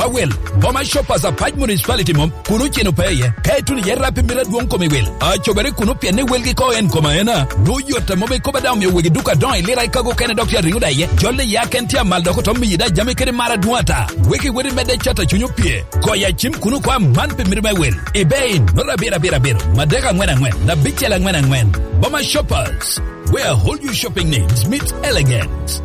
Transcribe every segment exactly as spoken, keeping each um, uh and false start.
Awel, Boma Shoppers Apac Municipality mom, kun oceno pe iye. Ka ituno iye rap i mito adwoŋ kom i wil, acobere kuno pien ni welgi ko en kom aena. Nwoŋo yot a mom ikobo daŋ omio wegi duka adoŋo i lira i kago okene dok tye ariŋo daŋ iye. Jol i ya ken tye amal dok oto miyi daŋ jami kede mar adwoŋ ata. Wek iwot i medde cat a cuny opye. Goyo acim kuno kwa man pi mito me wel. Ibe in, nota abiro abiro abiro, madek aŋwen aŋwen, abicel aŋwen aŋwen. Boma Shoppers, where all your shopping needs meet elegance.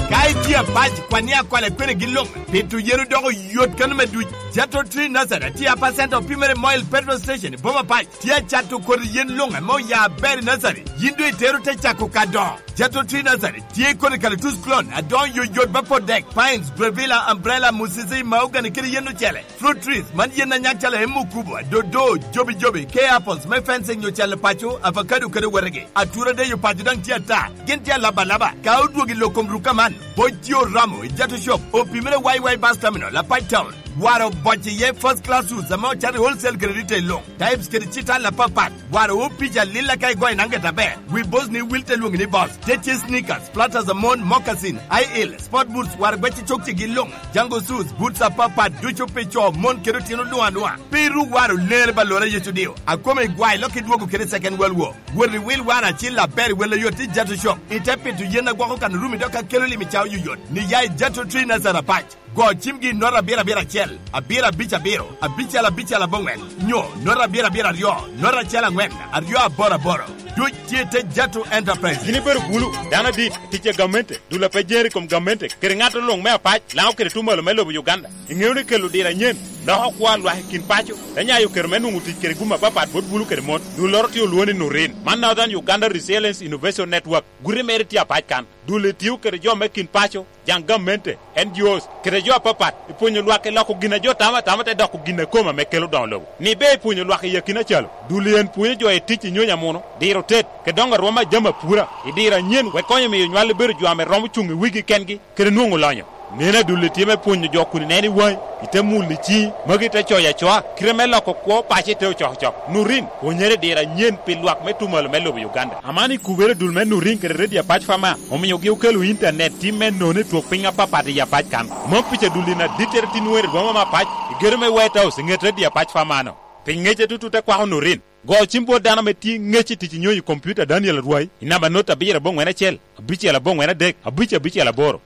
Ka itye apac, kwan ni akwala kwene gi luŋ, pito yen odoko yot kano me duc. Jato Tree Nursery tye a percent opimere Moil Petrol Station i Boma Pac. Tye acato kodi yen luŋ ame oya aber i nursery. Yin doŋ itero te cako ka dongo. Jato Tree Nursery tye kodi kalatus klon, adoŋo yoyot ba pot dek, pines, brevilla, umbrella, musisi, mahogany, kede yen ocele. Fruit trees, man yen a nyak calo emukubo, dodo, jobi jobi, ke apples me fencing nyo calo paco, avocado kede wetegi. Atura deyo paco daŋ tye ata, gin tye alaba alaba. Ka odwogo i lok kom rukka man, boc tye oromo i Jato Shop, opimere Y Y Bus Terminal, Apac Town. Waro boc iye first class suits ame ocato i wholesale kede retail luŋ. Types kede cital apapat. Waro wo pica lilla ka igoyo naŋ gete aber. Wi boss ni wil te lwoŋi ni boss. Te tye sneakers, platters a mon, moccasin, high heel, sport boots, waro gwecci cokcigi luŋ. Jango shoes, boots apapat ducu pi co, mon kede otino luŋ aluŋa. Pe iru waro lere ba lora Yecu dio. Akome igwayo lok idwogo kede second world war. Wot iwil waro acil aber i wel oyot i Jato Shop. Ite pito yen agwoko kan rumi dok akelo lim i cawa yoyot. Ni ya i Jato Tree Nazareth Apac. Go cimgi i nota abiro abiro acel, abiro abic abiro, abicel abicel aboŋwen, nyo nota abiro abiro aryo, nota acel aŋwen, aryo aboro aboro. Duc tye i te Jato Enterprise. Gin ibedo bulu, dano adit, tic a gamente, dul a pe jer i kom gamente, kede ŋat luŋ me apac, Laŋo kede tuŋ malo me lobo Uganda. Iŋeo ni kelo diro anyen loko kwo a lwak i kin paco, te nyayo kero me nwoŋo tic kede gum apapat bot bulu kede mon. Dulloro tye olwoŋo ni Nurin. Man Northern Uganda Resilience Innovation Network. Guti mere tye apac kan. Dul etio kede jo me kin paco, jaŋ gamente, N G Os, kede jo apapat, i pwonyo lwak i loko gin a jo tamo atama te doko gin a kome ame kelo doŋo lobo. Ni be i pwonyo lwak i akina calo, dul en pwonyo jo i tic i nyonyo amuno, diro tet, kede doŋo arwom a jami apura, i diro anyen wek konyo miyo nywal bedo jo ame romo cuŋ i wigi kengi, kede nwoŋo lonyo. Neno adul itye me pwonyo jo kun ineno i waŋi, ite mulo i ciŋi, magi te coyo acoa, kite me loko kwo paco ite ocokocok. Nurin, pwonyere i diro anyen pi lwak me tuŋ malo me lobo Uganda. Aman ikubere dul me Nurin kede redio apac Fama, omiogi okelo intanet tim me nono i twok piny apapat i apac kan. Mom pica dul in adittere tin weri boma me apac, i gedo me White House i ŋet redio apac Fama-no. Pi ŋece tutu te kwako Nurin. Go cim bot dano ame tye ŋec i tic i nyonyo i kompiuta Daniel Arwai i namba not abiro aboŋwen acel, abicel aboŋwen adek, abic abicel aboro.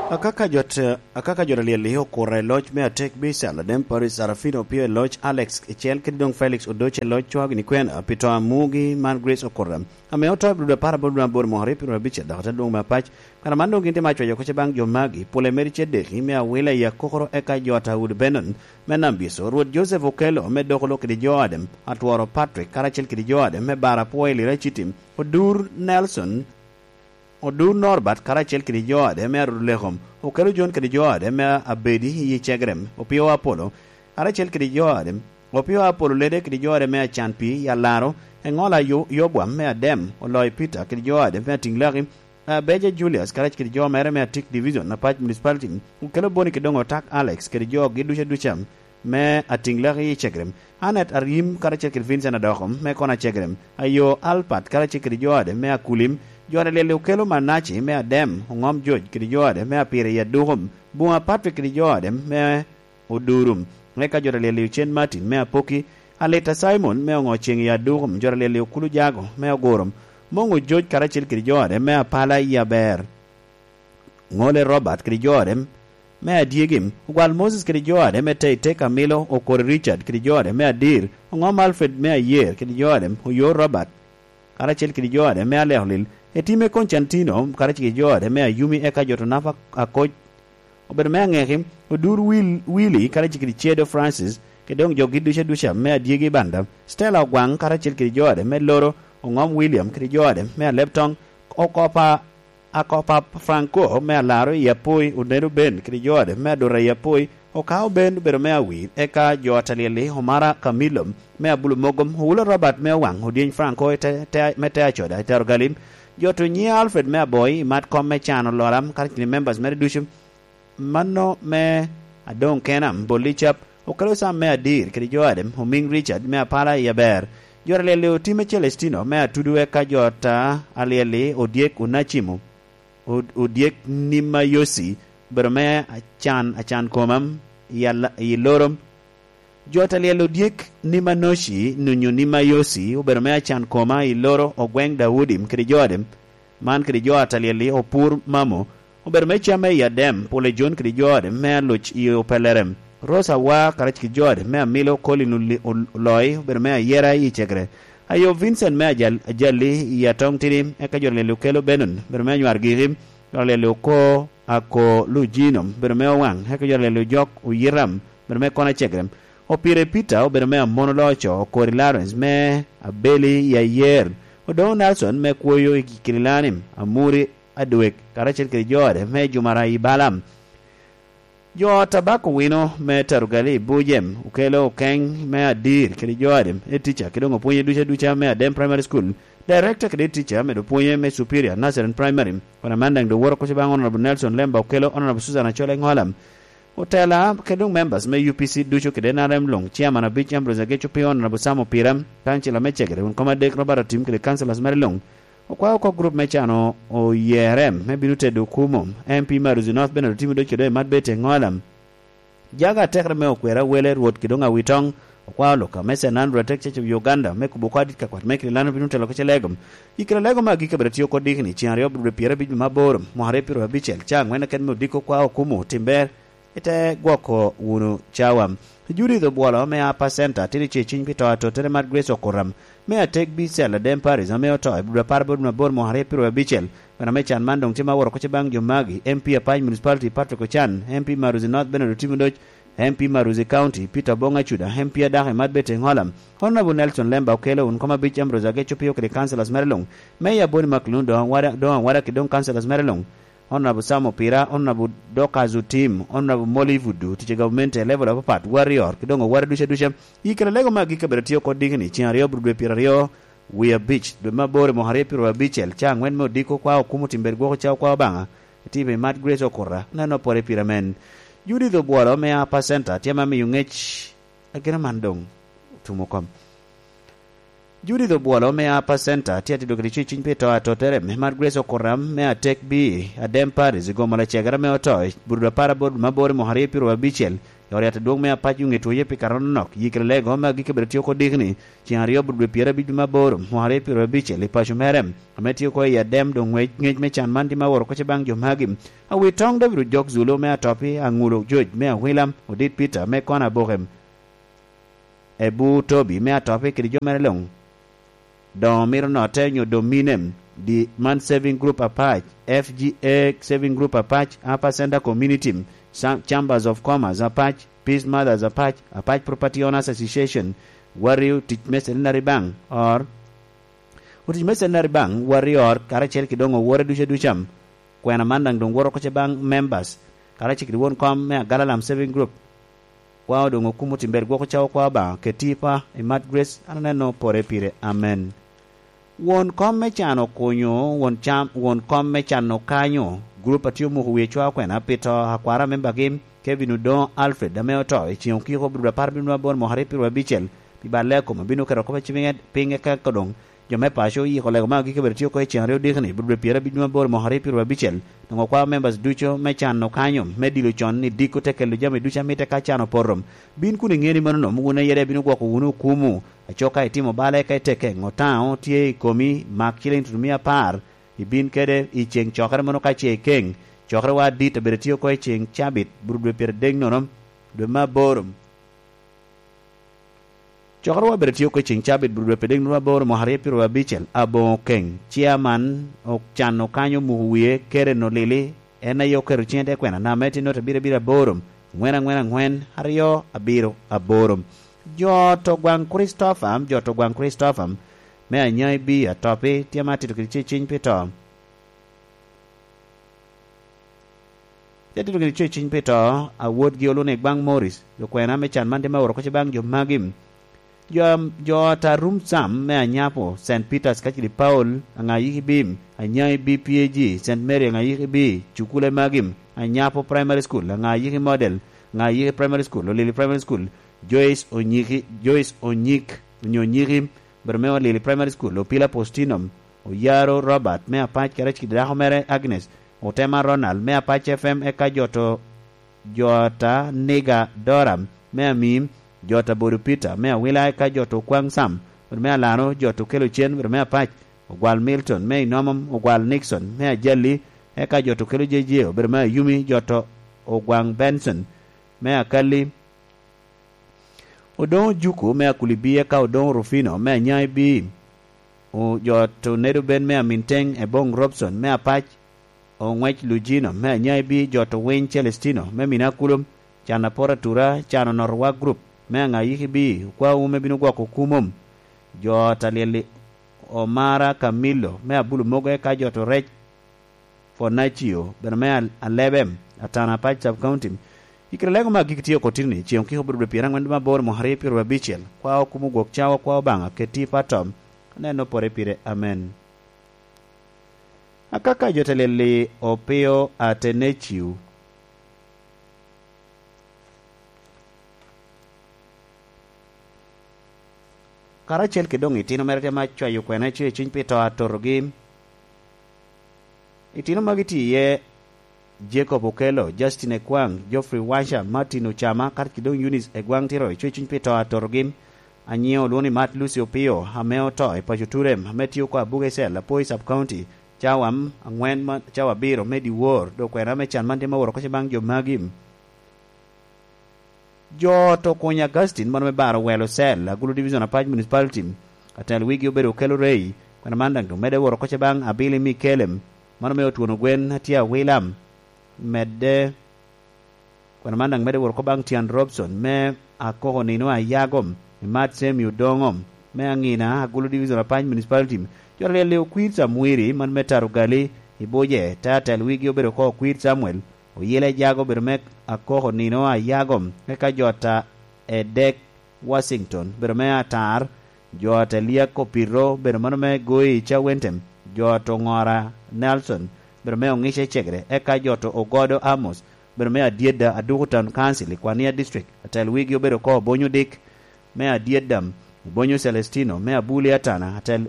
Akaka jot, akaka jot alyel-li okura i loc me atek Bisal, Adem Paris Sarafino opio i loc Alex Icel kede doŋ Felix Odoce i loc Cwagini Kwena pi to a mugi man Grace Okura, ame oto i Abdul apar aboro dwe aboro mwaka aryo pyedo abicel dok te lwoŋ me apac. Kare man doŋ gin tye me acwayo kocce baŋ jo magi, pole meri ce deki me awila i akokoro eka jo ata udi Benon me Nambiso, Rwot Joseph Okello me dok olok kede jo ade, atworo Patrick karacel kede jo ade me bar apwo i Lira City, Odur Nelson, Odur Norbert karacel kede jo ade me Arud Lekom, Okello John kede jo ade me Abedi i Cegrem, Opio Apollo, karacel kede jo ade, Opio Apollo Lede kede jo ade me Acan Pii i Alaro, Eŋola Yo-, Yobwam me Adem, Oloyo Peter kede jo ade me Atiŋlaki, Abeja Julius karacel kede jo mere me Atik Division, Apac Municipality, Okello Boni kede doŋ Otak Alex kede jogi ducu aduca me Atiŋlaki i Cegrem, Annet Aryim karacel kede Vincent Adoko me Kona Cegrem, Ayo Alpat karacel kede jo ade me Akulim, jo ade lyel Okello Manaci me Adem, Oŋom George kede jo ade me Apire i Adukum, Buŋa Patrick kede jo ade me Oduru. Eka jo ta lyel i Ocen Martin me Apoki, Aleta Simon me Oŋo Ceŋ i Adukum, jo ta lyel i Okulu Jago me Oguro, Moŋo Joc karacel kede jo ade me Apala i Aber, Ŋole Robert kede jo ade me Adyegim, Ogwal Moses kede jo ade me Teitei Kamilo, Okori Richard kede jo ade me Adir, Oŋom Alfred me Ayer kede jo ade, Oyo Robert karacel kede jo ade me Aleko Lil, Etime Konstantino karacel kede jo ade me Ayumi, eka jo ta napa Akoc, obedo me aŋeki, Odur Wil-, Willy karacel kede Cedo Francis, kede doŋ jogi ducu aduca me Adyegi Banda, Stella Ogwaŋ karacel kede jo ade me Loro, Oŋom William kede jo ade me Alebtoŋ, Okopa, Akopa Franco me Alaro i Apoi, Onedo Ben kede jo ade me Adura i Apoi, Okao Ben obedo me Awir, eka jo ata lyel-li, Omara Camilo me Abulu Mogom, Owulo Robert me Owaŋ, Odyeny Franco i te, te, me Te Acoda i Tero Galim, jo to nyiŋe Alfred me Aboi i mat kom me cano loram, karacel kede members mere ducu, Mano me Adoŋ Kena, Bolli Cap, Okelo Sam me Adir kede jo ade, Omiŋ Richard me Apala i Aber, jo ta lyel-li, Otime Celestino me Atudu, eka jo ta alyel-li, Odyek Onacimo, Od-, Odyek Nimayosi, obedo me acan, acan koma i ala-, i loro. Jo ta lyel odyek Nimanoci nunyo Nimayosi obedo me acan koma i loro Ogweŋ Daudi kede jo ode. Man kede jo a ta lyel-li opur mamo, obedo me camme i Adem, pole Jon kede jo ode me aloc i Opelere. Rosa Wa karec kede jo ode me amilo Colin Oli-, Ol-, Oloi obedo me ayera i Cegere. Ayo Vincent me ajal-, ajali i Atong Tidi, eka jo ta lyel-li okelo Benon, obedo me anywar giki. Jo ta lyel-li oko ako Lujino, obedo me Owaŋ, eka jo ta lyel-li ojok Oyiram, obedo me Kona Cegere. Opire Peter obedo me Amono Loco, Okori Lawrence me Abeli i Ayer, Odoŋo Nelson me Kwoyo i Kililani, Amuri Adwek, karacel kede jo ode me Jumara i Balam. Jo Tabako Wino me Tarugali i Bujem okelo Okeŋ me Adir kede jo ode, e teacher, kede doŋ opwonye duca duca me Adem Primary School. Director kede teacher medo pwonye me Superior Nazarene Primary. Kono man daŋ doŋ woto kuca baŋ Honorable Nelson Lemba okelo Honorable Susan Achole Ŋola. Otela kede doŋ members me U P C ducu kede N R M luŋ, Chairman abic Ambrose Ageco Pio, Honorable Sam Opira, Councilor me Cegere, wun kom adek Robert Otim kede councilors mere luŋ. Okwao oko group me cano oyere me bino tedo Okumu, M P Maruzi North Bernard Otim Odoc kede Emat Bete Ŋola. Jaga atekere me okwera wele Rwot kede doŋ Awitoŋ, okwao Luka me Saint Andrew Atek Church of Uganda me kubo oko adit ka kwat me Kililano bino telo kece lego. I kela lego me agikki abiro tio oko dikni, cen aryo bro pyera abic me aboro, mwaka aryo pyero abicel, ca aŋwen aket me odiko okwao Okumu, timber, ite gwoko wunu cawa. Judith Obwolo me Upper Center tye ceciny pi to atotere Mad Grace Okuram me Atek Bicel Adem Paris ame oto i bur apar bot mabor mwaka aryo pyero abicel. Kwena me can man doŋ tye ma woro kuca baŋ jo magi: M P Apac Municipality Patrick Ochan, M P Maruzi North Bernard Otim Odoc, M P Maruzi County Peter Obong Acuda, M P adako i Mad Bete Ŋola, Honorable Nelson Lemba Okelo, wun kom abic Ambrose Ageco Pio kede councilors mere luŋ, Mayor Boni Maklun doŋ awada, doŋ awada kede doŋ councilors mere luŋ. Honorable Sam Opira, Honorable Dorcas Otim, Honorable Molly Vudu, tic i gavumenti a level apapat, Warrior, kede doŋ owara duca duca. I kela lego me agikki abiro tio oko dikni, cen aryo bro dwe pyero aryo wie abic, dwe me aboro i mwaka aryo pyero abicel, ca aŋwen me odiko okwao Okumu, timber gwoko ca okwao Obaŋa, itipo i Mad Grace Okuta, neno pore pire men. Judith Obwolo me Upper Center tye ma miyo ŋec agina man doŋ otumo kom. Judith Obwolo me Upper Center tye atito kede cwecwiny pi to atottere. Mad Grace Okuram me Atek Bi, Adem Paris, gomo lacegere me oto i bur dwe apar aboro dwe me aboro i mwaka aryo pyero abicel, i ot yat adwoŋ me Apac Yuŋ Etwoye pi kato anonok. Yikere lego me agikki bedo tye oko dikni, cen aryo bur dwe pyero abic dwe me aboro, mwaka aryo pyero abicel, i paco mere, ame tye oko i Adem. Doŋ ŋwec, ŋec me can man tye ma woro koce baŋ jo magi. Awitoŋ David Ojok Zulu me Atopi, Aŋulo George me Awilam, Odit Peter me Kona Abokem, Ebu Tobi me Atopi kede jo mere luŋ. Doŋ omito notte onyo dominem, di man Saving Group Apac, F G A Saving Group Apac, Upper Center Community, Sam-, Chambers of Commerce Apac, Peace Mothers Apac, Apac Property Owners Association, Warrior, tic me Centenary Bank, or otic me Centenary Bank, Warrior, karacel ki doŋ owore duca duca. Kwena man daŋ doŋ woto oko ce baŋ members, karacel kede won kom me Agalalam Saving Group. Kwao doŋ Okumu, timber gwoko cawa kwao Obaŋa, keti pa i Mad Grace, an aneno pore pire. Amen. Won kom me can okunyo, won cam, won kom me can okanyo, group a tye omuko wie cwa kwena pi to akwara membagi, Kevin Odongo Alfred, ame oto i ceŋ okiko bur apar bino aboro mwaka aryo pyero abicel, pi balle a kome bino keto kop a cibiŋe piny eka doŋ jo me paco oyiko lego me agikki bedo tye oko i cen aryo dikni, bur dwe pyero abicel me aboro mwaka aryo pyero abicel. Doŋ okwao members ducu me can okanyo, me dilo con ni diko te kelo jami ducu a mitte ka can opoto. Bin kun iŋeo ni mano nomo wun aye daŋ ibino gwoko wunu Okumu, aco ka itimo bal eka iteke, ŋo taŋo tye i komi, mak ciliŋ tutumia apar, ibin kede i ceŋ cokere mano ka ce ikeŋ. Cokerewa adit abedo tye oko i ceŋ cabit, bur dwe pyero adek nono, dwe me aboro. Cokerewa obedo tye oko i ceŋ cabit, bur dwe pyeraryo aboro mwaka aryo pyero abicel, aboŋo keŋ. Chairman ocan okanyo omuko wie, Karen Olili, en aye oketo ciŋe te kwena, namba me tye nota abiro abiro aboro, aŋwen aŋwen aŋwen, aryo abiro aboro. Jo to gwaŋ Christopher, jo to gwaŋ Christopher, me Anyai B Atopi, tye ma atito kede ceciny pi to. Te tito kede cwecwiny pi to, awotgi Olune Gbaŋ Morris, jo kwena me can man tye me oro koc baŋ jo magi. Jo, jo ata rum Sam me Anyapo, Saint Peters kacel i Paul, Aŋayiki B, Anyai B P A G, Saint Mary Aŋayiki B, cukule magi, Anyapo Primary School, Aŋayiki Model, Aŋayiki Primary School, Olili Primary School, Joyce Onyiki, Joyce Onyik, onyo Onyiki, bedo me Olili Primary School, Opila Postino, Oyaro Robert me Apac kede aciki dako mere Agnes, Otema Ronald me Apac F M, eka jo to, jo ata Niga Doram me Amim, jo ata Bodo Peter me Awila, eka jo to Okwaŋ Sam, me Alano, jo to Kelo Cen, me Apac, Ogwal Milton me Inomom, Ogwal Nixon me Ajali, eka jo to Kelo J J, obedo me Ayumi, jo to Ogwaŋ Benson me Akalli, Odoŋo Juku me Akulibi, eka Odoŋo Rufino me Anyaŋ Ibi, o-, jo to Nedo Ben me Aminteŋ, Eboŋ Robson me Apac, Oŋwec Lujino me Anyaŋ Ibi, jo to Winy Celestino me Mina Kulom, Can Apor Atura, Can Onotowa Group me Aŋayik Ibi, Okwawu me Bino Gwoko Kumom, jo ta Lyelli Omara Kamilo me Abulu Mogo, eka jo to Rec Fonacio, bene me Al-, Alebem, Atana Apac Sub County. I kite lego me agikki tye oko tini, ceŋ okiko obedo dwe pyeraŋwen dwe me aboro mwaka aryo pyeraryo abicel. Kwa okumo gwok cawa, kwa Obaŋa, keti i patom, aneno pore pire. Amen. Akaka jo te Lyelli Opio Ateneciu, karacel kede doŋ itino mere tye ma cwayo kwena cuyo cuny pi to atotogi. Itino magi tye iye Jacob Okello, Justin Ekwaŋ, Geoffrey Washa, Martin Ocama, karacel kede doŋ Eunice Egwaŋ tye ro cuyo cuny pi to atotogi. Anyiŋe olwoŋo ni Mat Lucy Opio, ame oto i paco Turem, ame tye oko Abuga i cell, Apoi Sub County, cawa aŋwen ma, cawa abiro me dyewor, dok kwena me can man tye me woro oko ce baŋ jo magi. Jo to Kuny Augustine, mano me Baro Welo Cell, Agulu Division Apac Municipality, atel wigi obedo Okello Rey, kwena man daŋ omedde woro oko ce baŋ Abili Mikelem, mano me Otwono Gwen, atye Awilam, medde, kwena man daŋ medde woro oko baŋ Tian Robson, me Akoko Nino Ayagom, Imat Semi Odongo, me Aŋina, Agulu Division Apac Municipality, jo alyel Okwir Samwiri, man me Taro Gali, Ibuje, te atel wigi obedo oko Okwir Samuel, Oyela Ejago obedo me Akoko Nino Ayago, eka jo ata Edek Washington obedo me Atar, jo ata Eliak Opito obedo mano me Goi Cawentem, jo ata Oŋora Nelson obedo me Oŋica Ecegere, eka jo ata Ogodo Amos obedo me Adyedda Aduku Town Council i Kwania District, atel wigi obedo oko Obonyo Dik, me Adyedda, Obonyo Celestino, me Abuli Atana, atel,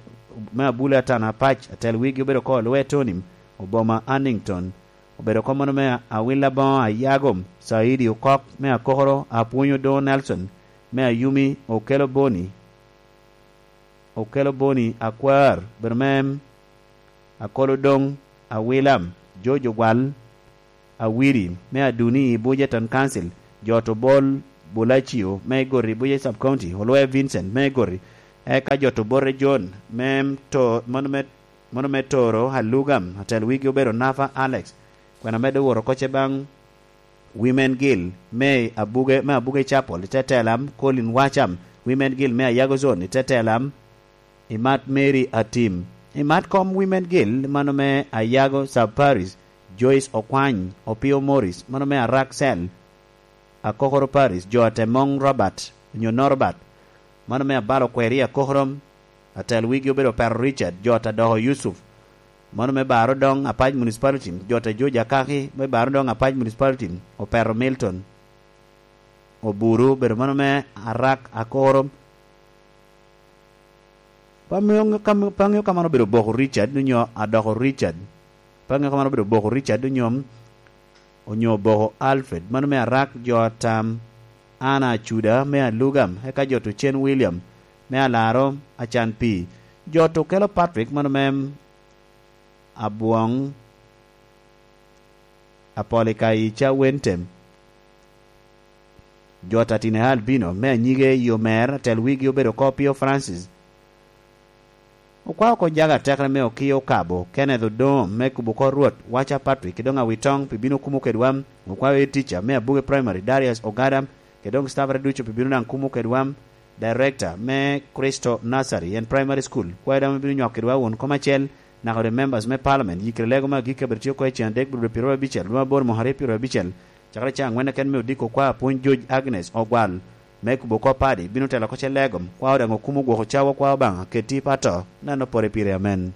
me Abuli Atana Apac, atel wigi obedo oko Olwe Tonim, Oboma Annington, obedo oko mano me Awila Boŋo Ayago, Saidi Okok, me Akokoro, Apwony Odoŋo Nelson, me Ayumi, Okello Boni, Okello Boni Akwar, obedo me Akolo Doŋ, Awila, George Ogwal, Awiri, me Aduni i Buja Town Council, jo ata Obol Bulacio, me Igoti i Buja Sub County, Olwe Vincent, me Igoti, eka jo ata Obote John, me to-, mano me, mano me Toro Alugam, atel wigi obedo Nafa Alex, kwena medde woro oko ce baŋ Women Guild, me Abuge, me Abuge Chapel, i te telam, Colin Wacham, Women Guild, me Ayago Zone, i te telam, Imat Mary Atim. Imat kom Women Guild, mano me Ayago Sub Parish, Joyce Okwany, Opio Morris, mano me Arak Cell, Akokoro Parish, jo ata Moŋ Robert, onyo Norbert, mano me Abalo Kweri Akokoro, atel wigi obedo Opero Richard, jo ata Doko Yusuf, mano me Baro Doŋ Apac Municipality, jo ata George Akaki, me Baro Doŋ Apac Municipality, Opero Milton, Oburu, obedo mano me Arak Akokoro, Pe aŋeo ka, pe aŋeo ka man obedo Oboko Richard onyo Adoko Richard. Pe aŋeo ka man obedo Oboko Richard onyo, onyo Oboko Alfred. Mano me Arak, jo ata Ana Acuda me Alugam, eka jo ata Ocen William me Alaro Acan Pii. Jo ata Okello Patrick, mano me Abwong, Apolika i Cawentem. Jo ata Tina Albino me Anyige i Omer, atel wigi obedo oko Pio Francis. Okwao oko jaga atekere me Okiya Okabo, Kenneth Odongo me Kubo Kor Rwot, Wacha Patrick, kede doŋ Awitoŋ pi bino kumo kedwa. Okwao Head Teacher me Abuge Primary, Darius Ogada, kede doŋ staffere ducu pi bino daŋ kumo kedwa. Director me Cristo Nursery and Primary School, kwayo daŋ me bino nywako kedwa won kom acel, naka the members me Parliament, yikere lego me agikki abiro tye oko i cen adek, biro bedo pyeraryo abicel, dwe me aboro mwaka aryo pyeraryo abicel, cakere ca aŋwen keken me odiko kwa Apwony George Agnes Ogwal, me Kubo Kop Padi, bino telo oko ce lego, kwao daŋ okumo gwoko cawa kwa Obaŋa, keti i pato, neno pore pire, amen.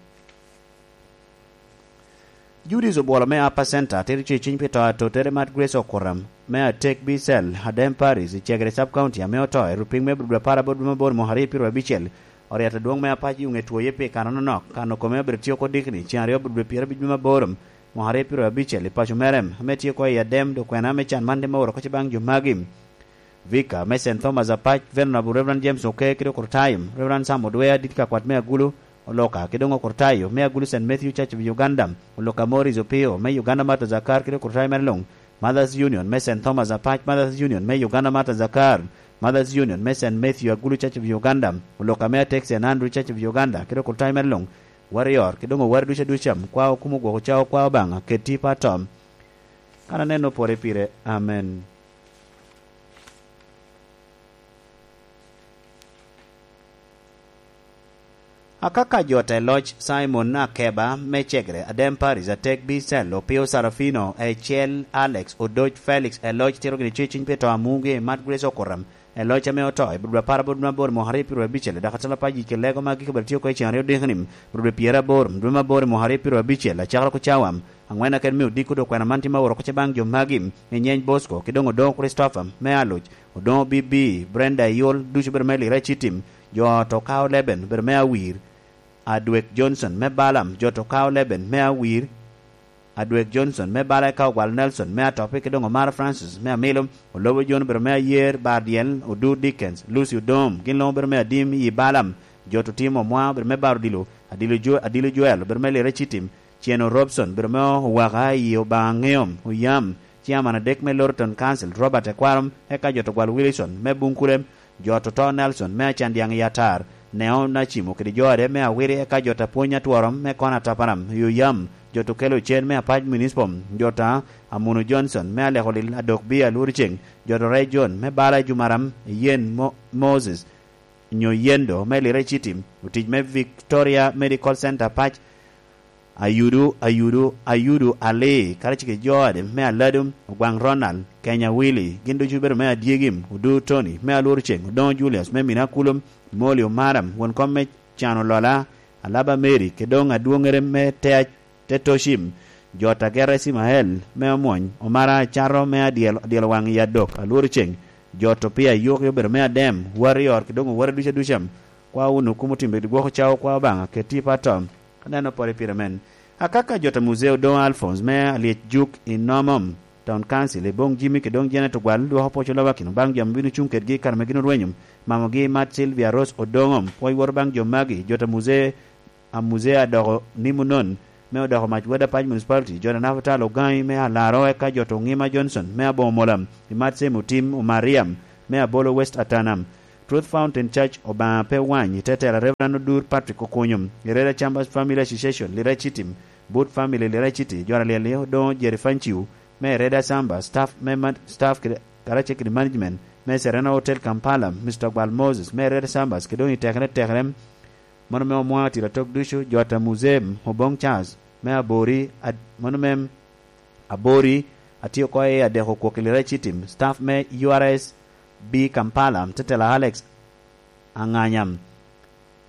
Judith Obwolo me Upper Center tito ce cwiny pi to atotere mat Grace Okuram me Atek Bicel, Adem Parish, i Cegere Sub County, ame oto i rupiny me Abril apar aboro dwe me aboro mwaka aryo pyeraryo abicel. Oriat adwoŋ me Apac i oŋe twoye pi kano nonok, kano kome obedo tye oko dikni, ceŋ aryo Abril pyerabicel dwe me aboro. mwaka aryo pyeraryo abicel i paco mere, ame tye oko i Adem, dok kwena me can man tye me oro kocce baŋ jo magi. Vicar me Saint Thomas Apac, Venerable Reverend James Oke, kede okurtayo, Reverend Sam Odwea, dit ka kwat me Agulu, Oloka, kede doŋ okurtayo me Agulu Saint Matthew Church of Uganda, Oloka Morris Opio, me Uganda Martyrs Akar, kede okurtayo mere luŋ, Mothers Union me Saint Thomas Apac, Mothers Union me Uganda Martyrs Akar, Mothers Union me Saint Matthew Agulu Church of Uganda, Oloka me Atek Saint Andrew Church of Uganda, kede okurtayo mere luŋ, Warrior, kede doŋ oware ducu aduca, kwa okumo gwoko cawa kwa Obaŋa, keti pa tom. Kan aneno pore pire. Amen. Akaka jo te loc, Simon Akeba me Cegre, Adem Paris, Atek Bicel, Opio Sarafino, Ecel Alex, Odoc Felix, e loc tito gini cwecwiny pi to amugi, Mat Grace Okuram, e loc ame oto, i Burbra apar aboro dwe aboro mwaka aryo pyeraryo abicel, dok atala pa yic ki lego ma gik bene tye oko i cen aryo dikni, Burbra pyeraboro dwe aboro mwaka aryo pyeraryo abicel, acakere oko cawa aŋwen aken me odiko dok kwena man tye ma oro oko ce baŋ jo magi, i nyeny Bosco, ki doŋ Odoŋo Christopher, me Aluc, Odoŋo Bibi, Brenda Eyol, ducu bedo me Lira Ecitim, jo ot Okao Leben, bedo me Awir, Adwek Johnson, me Balam, jo ot Okao Leben, me Awir, Adwek Johnson, me Bala eka Ogwal Nelson, me Atopi, ki doŋ Omara Francis, me Amilo, Olobo John, bedo me Ayer, Bardiel, Odur Dickens, Lucy Odom, gin luŋ bedo me Adim, yi Balam, jo ot Otim Omwa, bedo me Bar Odilo, Adilo Jo-, Adilo Joel, bedo me Lira Ecitim, Cieno Robson, bedo me Owaka, yi Obaŋa Ŋeom, Oyam, Chairman adek me Lorton Council, Robert Ekwarom, eka jo ot Ogwal Wilson, me Buŋkule, jo ot oto Nelson, me Acandyaŋ i Atar, Neo Nacimo kede jo ode me Awiri, eka jo ot Apwony Atworom, me Kona Taparam, i Oyam, jo ot Okelo Cen, me Apac Municipal, jo ot Amuno Johnson, me Aleko Lil Adok Bia Lworo Ceŋ, jo ot Orec John, me Bala Jumaram, Yen Mo-, Moses, nyo Yendo, me Lira Ecitim, otic me Victoria Medical Center Pac, Ayudu, Ayudu, Ayudu Ali, karacel kede jo ode me Aladu, Ogwaŋ Ronald, Kenya Willy, gin ducu obedo me Adyegim, Odur Tony, me Alwor Ceŋ, Odoŋo Julius, me Mina Kulum, Moli Omaram, won kom me Cano Lola, Alaba Mary, kede doŋ adwoŋere me Tea, Tetoshim, jo ot Agera Ismael, me Omwony, Omara Acato, me Adyel, Adyel Waŋ i Adok, Alwor Ceŋ, jo ot Opia Yuki obedo me Adem, Warrior, kede doŋ oware ducu aduca, kwa wunu kumo timbe gwoko cawa kwa Obaŋa, keti pa tom. Aneno pore pire men. Akaka jo ot a Muzeo Odoŋo Alphonse me Alyec Juk i Nomom, Town Council, i Boŋ Jimmy kede doŋ Janet Ogwal, dwoko pwoc olobakino baŋ jo ame bino cuŋ kedgi i kare ame gin orwenyo, mamogi Mat Sylvia Rose Odoŋo, pwoc woro baŋ jo magi, jo ot a Muzeo, a Muzeo adoko Nimunon, me odoko mac Weda Pac Municipality, jo ot a Nafatal Ogaŋi me Alaro, eka jo ot Oŋima Johnson, me Aboŋo Mola, i Mat Same Otim Omariam, me Abolo West Atanam, Truth Fountain Church, Obaŋa pe wany, i te tela Reverend Odur Patrick Okunyo, i Reda Chambers Family Association, Lira Ecitim, Boot Family, Lira Eciti, Jwara Lyel, Odoŋo Jerry Fanciu, me Reda Chambers, staff me man-, staff kede, karacel kede management, me Serena Hotel Kampala, Mister Gwal Moses, me Reda Chambers, kede doŋ i tekere tekere, mano me Omwa Tira Tok ducu, jo ot a Museum, Oboŋ Charles, me Abori, ad-, mano me Abori, atye oko i adeko kwok i Lira Ecitim, staff me U R S B Kampala, Tetela Alex Aŋanyam.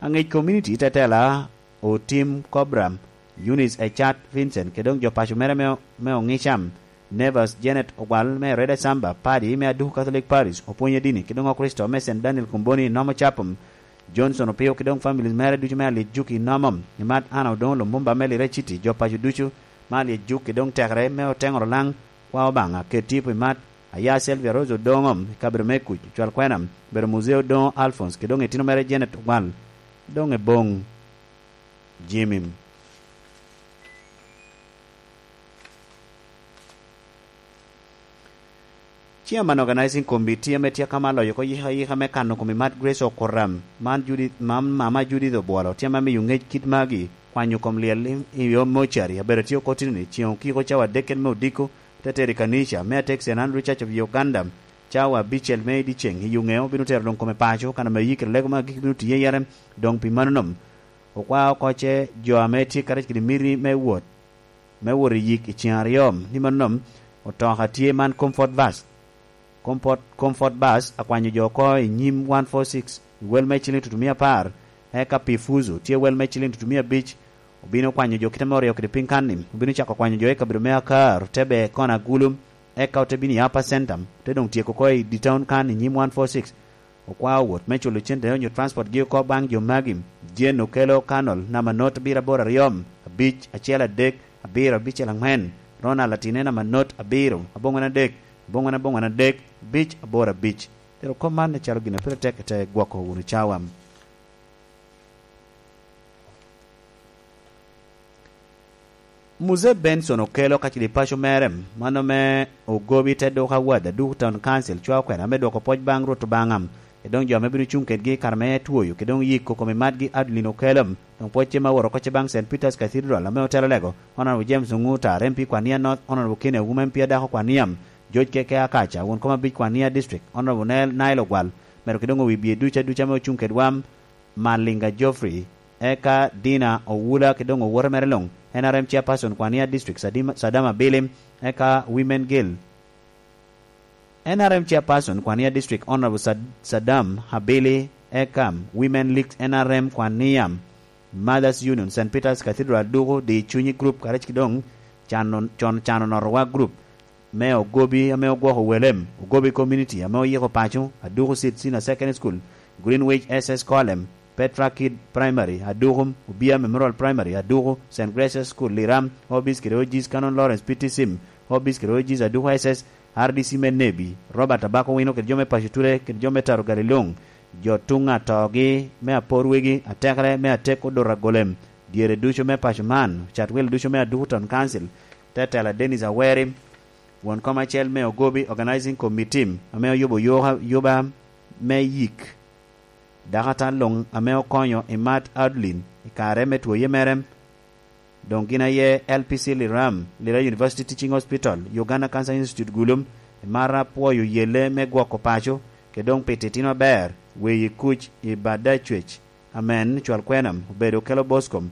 Aŋec Community, Tetela Otim Cobra, Eunice Echat Vincent, kede doŋ jo paco mere me, me Oŋicam, Nevers Janet Ogwal, me Reda Samba, Padi, me Aduku Catholic Parish, Opwony Adini, kede doŋ Okricito, me Saint Daniel Komboni, Nomo Chapel, Johnson Opio, kede doŋ families mere ducu me Alyec Juki, Nomo, i Mat Anna Odoŋo Lumumba, me Lira City, jo paco ducu, me Alyec Juki, doŋ tekere, me Oteŋo Rolaŋ, kwa Obaŋa, ket tipo i Mat, Aya Selvia Rose Odoŋo, i kabedo me kuc, cwal kwena, bedo Muzeo Odoŋo Alphonse, kede doŋ itino mere Janet Ogwal, doŋ i Boŋ Jimmy. Chairman Organizing Committee ame tye akama loyo oko yika yika me kano kom i Mat Grace Okuram, man Judith, mam-, mama Judith Obwolo, tye ame miyo ŋec kit magi, kwanyo kom lyel i, i yo mocari, abedo tye oko tino ni, cieŋ okiko cawa adek kede me odiko, te tero i kanica, me atek Saint Andrew Church of Uganda, cawa abicel me i dyeceŋ, i yo ŋeo, obino tero luŋ kome paco, kan ame yikere lego me agikki bino tiye yere, doŋ pi mano nom, okwao oko ce jo ame tye karec kede miti me wot, me wot i yik i cen aryo, ni mano nom, otoka tye man Comfort Bus. Comfort, Comfort Bus akwanyo jo oko i nyim one four six, i wel me ciling tutumia apar, eka pi Fuzu tye wel me ciling tutumia abic, obino kwanyo jo kite me oryo kede piny kan-ni, obino cako kwanyo jo i kabedo me Akar, te ber kono Agulu, eka ote bino i Upper Centum, te doŋ tyeko oko i Ditown kan i nyim one four six. Okwao wot me culo cente onyo transport gi oko baŋ jo magi, Jane Okello Kanol, namba not abiro aboro aryo, abic, acel adek, abiro abicel aŋwen, Ronald Atinena Manot abiro aboŋwen adek, aboŋwen aboŋwen adek, abic aboro abic. Tero kop man acalo gin a pire tek ite gwoko wunu cawa. Muzee Benson Okello ka cili paco mere, mano me Ogobi te duka wad Aduku Town Council cwao kwena me dwoko pwoc baŋ Rwot Obaŋa, e doŋ jo ame bino cuŋ kedgi i kare me twoyo, ke doŋ yiko kom i matgi Adeline Okello, doŋ pwocce ma woro kocce baŋ Saint Peter's Cathedral ame otelo lego, Honorable James Onguta, R M P Kwania North, Honorable Kenny Awuma, M P adako Kwania, George Keke Akaca, won kom abic Kwania District, Honorable Nel Nile Ogwal, medo ke doŋ owi bye duca duca ame ocuŋ kedwa, Malinga Geoffrey, eka Dina Owula, ke doŋ owote mere luŋ, N R M Chairperson Kwania District, Sadima-, Sadama Bilim, eka Women Guild, N R M Chairperson Kwania District, Honorable Sad-, Saddam Habili, eka Women League N R M Kwania, Mothers Union, Saint Peter's Cathedral, Aduku, Di Cunyi Group, kare cik doŋ Cano, Con Cano Notowa Group, me Ogobi ame ogwoko Welem, Ogobi Community ame oyiko paco, Aduku Seed Senior Secondary School, Greenwich S S Colem, Petra Kid Primary, Aduku, Obia Memorial Primary, Aduku, Saint Grace's School, Liram, Obis kede Ojis Canon Lawrence P T Sim, Obis kede Ojis Aduku S S, R D C me Nebi, Robert Abako Wino kede jo me paco Ture kede jo me Taro Galilung, jo tuŋ atogi me Apor Wegi, atekere me Atek Odura Golem, dyere ducu me paco man, cat welo ducu me Aduku Town Council, Tetela Dennis Aweri, won kom acel me Ogobi Organizing Committee, ame oyubo yoka-, yuba me yik dako atan luŋ ame okonyo i Mat Adlin i kare me twoye mere. Doŋ gin aye L P C Liram, Lira University Teaching Hospital, Uganda Cancer Institute Gulum, i mar apwoyo yelle me gwoko paco, ke doŋ pi titino aber, weyi kuc i Badacwec, amen, cwal kwenam, obedo kelo boskom,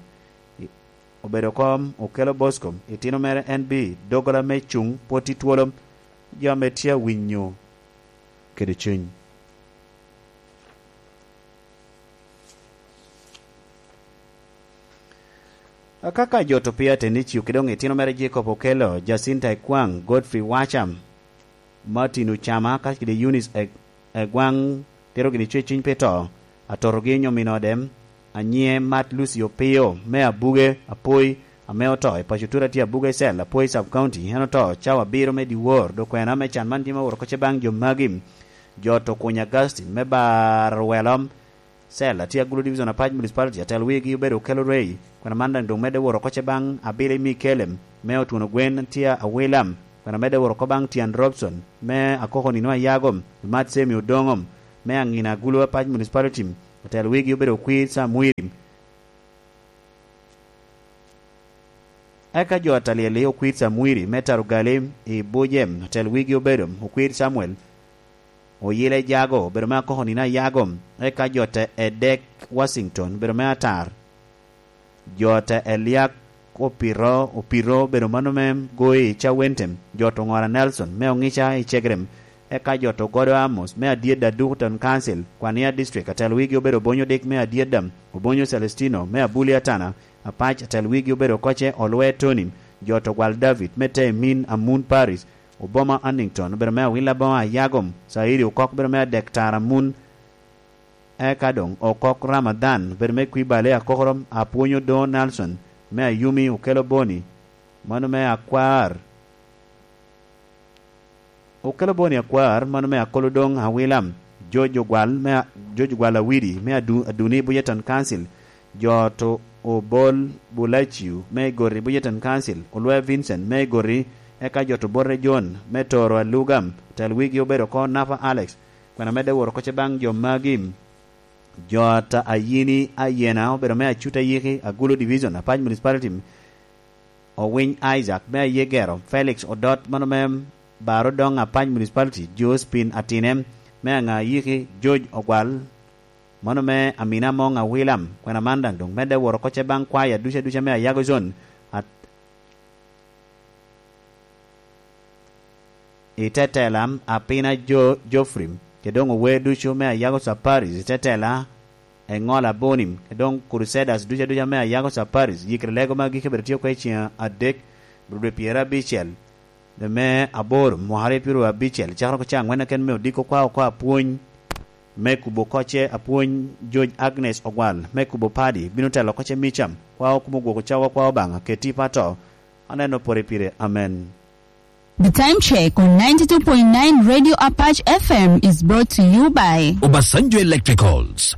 obedo kom, okelo boskom, itino mere en bi, dogola me cuŋ, pwot i twolo, jo ame tye awinyo kede cuny. Akaka jo to pia Tenicio, ki doŋ itino mere Jacob Okello, Jacinta Ekwaŋ, Godfrey Wacham, Martin Ocama, ka kede Eunice E-, Egwaŋ, tero gini cwe cuny pi to, atotogi onyo min ode, anyiŋe Mat Lucy Opio, me Abuge, Apoi, ame oto i paco Tura tye Abuge Cell, Apoi Sub County, en oto cawa abiro me dyewor, dok kwena me can man tye me woro kocce baŋ jo magi. Jo to kuny Augustine, me Bar Welom, Cell, atye Agulu Division Apac Municipality, atel wigi obedo Okello Ray, kwena man daŋ doŋ medde woro kocce baŋ Abili Mikelem, me Otwono Gwen tye Awilam, kwena medde woro oko baŋ Tian Robson, me Akoko Nino Ayagom, Mat Semi Odoŋom, me Aŋina Agulu Apac Municipality, atel wigi obedo Okwir Samwiri. Eka jo atalyel i Okwir Samwiri, me Tarugali i Bujem, atel wigi obedo Okwir Samuel, Oyile Jago, obedo me Akoko Nino Ayago, eka jo te Edek Washington, obedo me Atar, jo te Eliak Opiro, Opiro, obedo mano me Goi Cawentem, jo to Ŋora Nelson, me Oŋica i Cegrem, eka jo to Godo Amos, me Adyedda Dukuton Council, Kwania District, atel wigi obedo Obonyo Dik, me Adyedda, Obonyo Celestino, me Abuli Atana, Apac, atel wigi obedo Koce Olwe Tony, jo to Gwal David, me Temin Amun Paris, Oboma Annington, obedo me Awila Boma Ayagom, Saidi Okok, obedo me Adek Tara Mun, eka doŋ Okok Ramadhan, obedo me Kwibale Akokoro, Apwonyo Do Nelson, me Ayumi Okelo Boni, mano me Akwar, Okelo Boni Akwar, mano me Akolodoŋ Awilam, George Ogwal, me A-, George Ogwal Awidi, me Adu-, Aduni Bujeton Council, jo to Obol Bulaciu, me Igori Bujeton Council, Olwe Vincent, me Igori, eka jo to Borre John, me Toro Alugam, tel wigi obedo oko Napa Alex, kwena medde woro kocce baŋ jo magi, jo ta Ayini Ayena, obedo me Acuta Yiki, Agulu Division, Apac Municipality, Owiny Isaac, me Ayegero, Felix Odot, mano me Baro Doŋ Apac Municipality, Josephine Atine, me Aŋa Yiki, George Ogwal, mano me Amina Moŋ Awilam, kwena man daŋ doŋ medde woro kocce baŋ kwaya duca duca me Ayago Zone, at-, i tetela Apina Jo-, Geoffrey, ke doŋ ower ducu me Ayago Saparis i tetela Eŋol Abonim, ke doŋ Crusaders duca duca me Ayago Saparis, yikere lego ma gike bedo tye oko i ceng adek, rudwe pyerabicel, dwe me aboro, mwaka aryo pyeraryo abicel, cakere oko ceng aŋwen keken me odiko kwa oko apwony, me kubo kocce apwony George Agnes Ogwal, me kubo padi, bino telo kocce Micham, kwa okumo gwoko cawa kwa Obaŋa, keti pato, Aneno pwod pire. Amen. The time check on ninety-two point nine Radio Apache F M is brought to you by Obasanjo Electricals.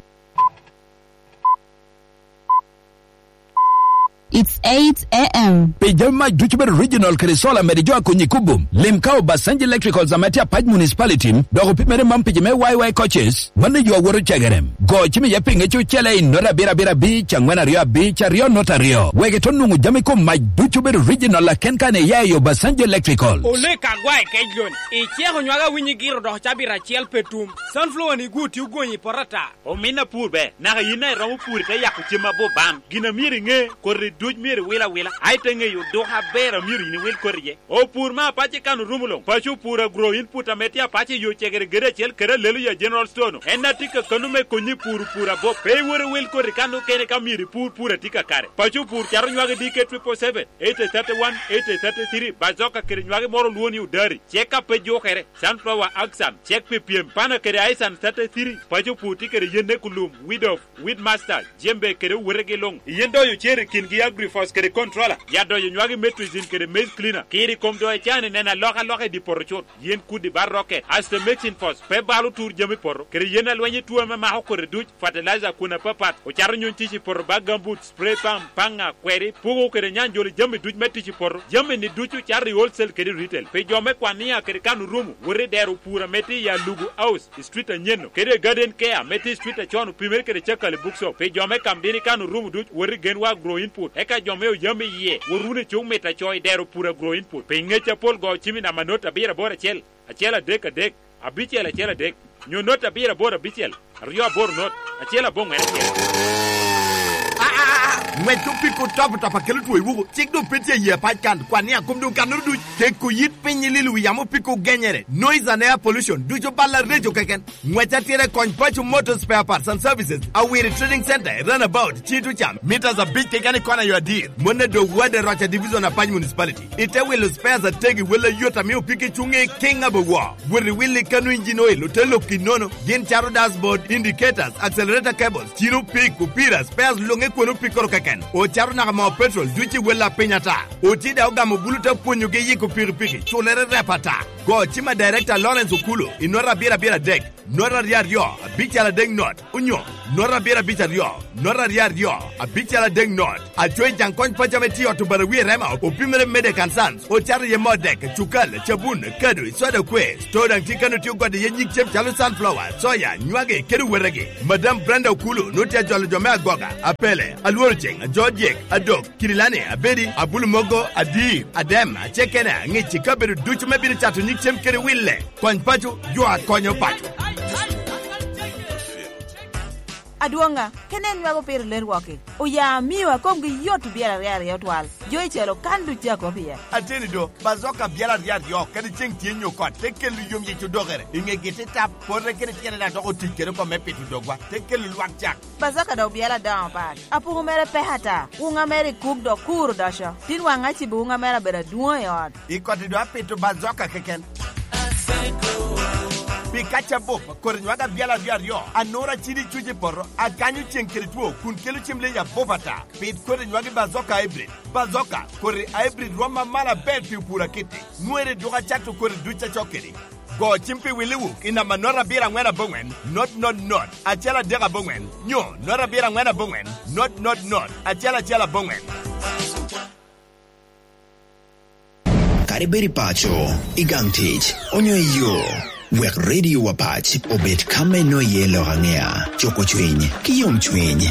It's eight a m. Pi jami mac ducu bedo original kede solar mede jo a Konyi Kubum, lim ka Obasanjo Electricals ame tye Apac Municipality, dok opimere man pi jo me Y Y coaches, mano yo a woto cegerem. Go cim iye pi ŋec ocele i nota abiro abiro abic, angwen aryo abic, aryo nota aryo. Wek ito nwoŋo jami kom mac ducu bedo original aken kan iya i Obasanjo Electricals. Olek agwa i kec loni. Iceko nywaka winyi giro dok cabit acel pe tum. Sunflower ni gwo tye ogonyi i poto ata. Omin apur ber, naka yin a iromo pur ite yako cem abup ban. Gin a myero iŋe, koti duc myero iwil awila, a ite ŋeyo duka aber a myero yin iwil koti iye. Opur me apac i kan orumo luŋ, paco opur agro input ame tye apac i yo cegere gede acel kede alelo ya General Store-nu. En a tye kakano me konyi i pur opur abup. Pe iwot iwil koti kan okene ka myero ipur pur a tye kakare. Paco opur cato nywagi D K triple seven, eight thirty one, eight thirty three, bazoka kede nywagi moro olwo ni odari, cek a pe jukere. Sunflower Axan, cek pi pyem, pana kede Aisan thirty three, paco pur tye kede yen Ekulum, Weed of, Weed Master, Jembe kede owetegi luŋ. Yen doyo cer i kingi Agrifos kede Controller, ya doyo nywagi Metrizin kede Maize Cleaner, kiri kom doyo can i neno alokaloka i di poto cut, yen kudi bar rocket, Astromycin Fos, pe balo tur jami poto, kede yen alweny i tuo ame mako kodi duc, fertilizer kun apapat, ocato nyuny tic i poto bag gambut, spray pump, paŋa, kweri, pugo kede nyanjolo jami duc me tic i poto. Jami-ni ducu cato i wholesale kede retail. Pi jo me Kwania kede kan orumo, wot i dero pur ame tye i Alugu House, i street anyen-nu, kede i Garden Care ame tye i street acon opimere kede Cakali Bookshop. Pi jo me Kamdini kan orumo duc, wot i Genwa Agro Input. Eka jo me Oyam iye, wot wunu i Cuk Mit Aco i dero pur Agro Input. Pi ŋec apol go cim i namba not abiro aboro acel, acel adek adek, abicel acel adek, nyo not abiro aboro abicel, aryo aboro not, acel aboŋwen acel. Aa, ŋwec opiko top top a kelo two i wuku, cik doŋ pe tye i yie apac kan, kwan ni akom doŋ kannoro duc, keko yit piny i lilo wi yamo opiko genyere, noise and air pollution, ducu bal areco keken. Ŋwec atira i kony Paco Motor Spare Parts and Services, Awiri Trading Center, i Runabout, Cito Cam, meters abic keken i kona yo adir, mone dog wade Roca Division, Apac Municipality. Ite wilo spares ategi, wel ayot ame opiki cuŋ i King Abowo. Wot i wil i kano engine oil, ote lok i nono. Gin cato dashboard, indicators, accelerator cables, cino pik, opira, spares luŋe kwon opikkoro keken. Ocato naka moo petrol, duc i wel a piny ata. Oti da ogamo bulu te pwonyogi yiko pikipiki, culere rep ata. Go cim a Director Lawrence Okulu, i nota abiro abiro adek, nota aryo aryo, abical adek not. Onyo, nota abiro abic aryo, nota aryo aryo, abical adek not. Aco i jaŋ kony paco ame tye i ot Obarawi i Rema, opimere Medek and Sons, ocato iye moo dek, cukal, cabun, kado, soda kwe. Store daŋ tye kano tye ogode iye nyig cem calo sunflower, soya, nywagi, kede wetegi. Madam Brenda Okulu nwoŋo tye ajolo jo me Agoga, Apele, Alworo Ceŋ, Ajodyek, Adok, Kirilani, Abedi, Abulu Mogo, Adir, Adem, Acekena, Ŋici, kabedo ducu me bino cato nyig cem kede wille. Kony paco, jo a konyo paco. Adwoŋa, kene en nwago piro ler wok-ki. Oya amio a komgi yot i byel aryo aryo twal. Jo i calo kan duc a kop iye. Ateni do, bazoka byel aryo aryo, kadi ceŋ tye nyo kot, te kelo yom yec odokere. I ŋegi te tap, pote kede tyene daŋ dok otic kede oko me pito dogwa, te kelo lwak cak. Bazoka dok byel adoŋo pat. Apuku mere pek ata. Wuŋa mere i kuk dok kur odoco. Tin waŋ acibo wuŋa mere abedo adwoŋ i ot. I koti do apito bazoka keken. Pi kaca bup, kodi nywag abyal aryo aryo, anura cidi cuc i poto, akanyo ceŋ kede two, kun kelo cem leyi abup ata. Pit kodi nywagi bazoka hybrid. Bazoka, kodi hybrid rom ma malo aber pi opur akiti. Nwere duk acato kodi duc acok kedi. Go cim pi Willi Wuk i namba not abiro angwen aboŋwen, not not not, acel adek aboŋwen, nyo not abiro angwen aboŋwen, not not not, acel acel aboŋwen. Kadi bed i paco, i gang tic, onyo i yo, wek Radio Wapac obed ka me nwoŋo iye lok aŋea, cuko cwiny, ki yom cwiny.